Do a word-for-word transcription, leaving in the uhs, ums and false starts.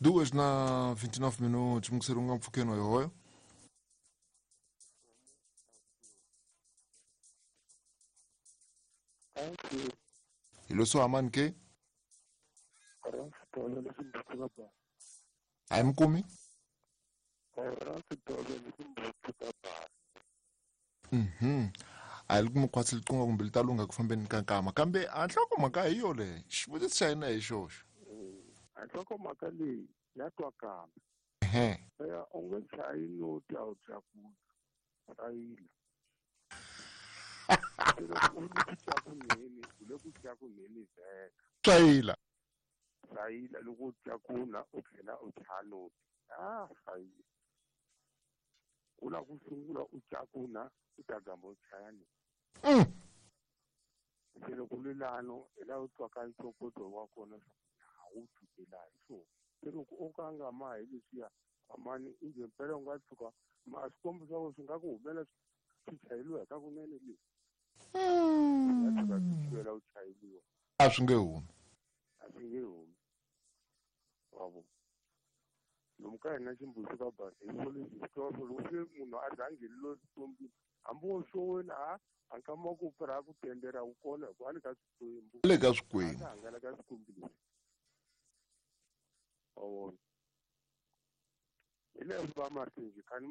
Duas na vinte e nove minutos, mukserunga mpfukeni hoyo. Ilo so amani ke? Ai mkumi? Mhm. Ai loko mukhwatsi liqunga kumbe li ta lungha ku fambeni ka nkama kambe a nhlokomhaka hi yo le xivutiso xa hina hi xoxo. A nhlokomhaka leyi ya twakala. Ehe. Ya u nge chayi noti a wu tlakula chayila. U le ku tlakuneni u le ku tlakuneni vhela. Chayila. Chayila loko u tlakuna u tlhela u chaya noti. Ah chayila. U lava ku sungula u tlakuna u ta gamba u chaya noti. Mm. Se loko lulano hi laha u twaka ntokoto wa kona a wu fikela hi swona. Se loko o ka nga ma hi leswiya amani inge mpela u nga tshuka ma swikombo swa wena swi nga ku humela swi chayeliwa hi ka kunene leswi. Nga tshuka swi chayela u chayeliwa. A swi nge humi. A swi nge humi. Wa vo. Lomu ka hina ximbuzi ka basa hi swo leswi swi tiva swo loko se munhu a za a nghenile xikwembini hambi wo xowela a a nkama ku pfurha ku tendera wu kona hikuva a le ka swikwembu. Le ka swikwembu. A hangalaka swikwembu leswi. Wa vona. Hi leswi va mahlweni kha ni